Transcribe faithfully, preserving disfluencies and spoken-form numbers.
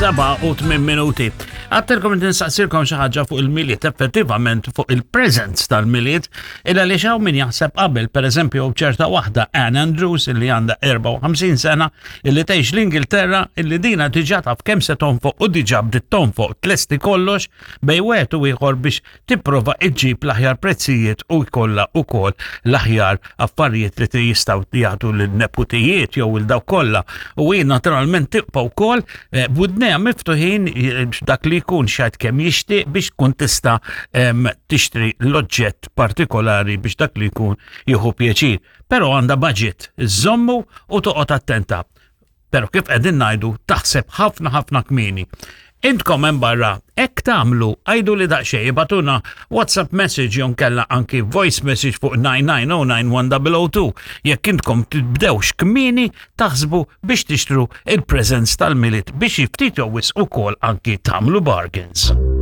Is-seba u tmien minuti. Għattilkom ninsaqsilkom xi ħaġa fuq il-Milied, effettivament fuq il-presents tal-Milied, illa li xaw min jaħseb qabel, per eżempju, ċerta waħda Ann Andrews illi għandha erbgħa u ħamsin sena illi tgħix l-Ingilterra, illi dina diġà taf kemm se tonfoq u diġà bdiet tonfoq, tlesti kollox bejn wieħed u ieħor biex tipprova iġġib l-aħjar prezzijiet u jkollha ukoll l-aħjar affarijiet li jistgħu jagħtu lin-neputijiet jew il dawk kollha. U hi naturalment tibqa' wkoll eh, b'widnejha miftuħin eh, dak li jkun xajt kemm jixtieq biex tkun tista' em, tixtri l-oġġett partikolari biex dak li jkun jieħu pjaċir. Però għandha budget, iżommu u toqgħod attenta. Però kif qegħdin ngħidu, taħseb ħafna ħafna kmieni. Intkom hemm barra, hekk tagħmlu, għidu li daqsxejn, ibagħtulna WhatsApp message jew kella anki voice message fuq nine nine zero nine one zero zero two jekk intkom tibdewx kmieni taħsbu biex tixtru il-presents tal-Milied biex ftit jew wisq ukoll anki tagħmlu bargains.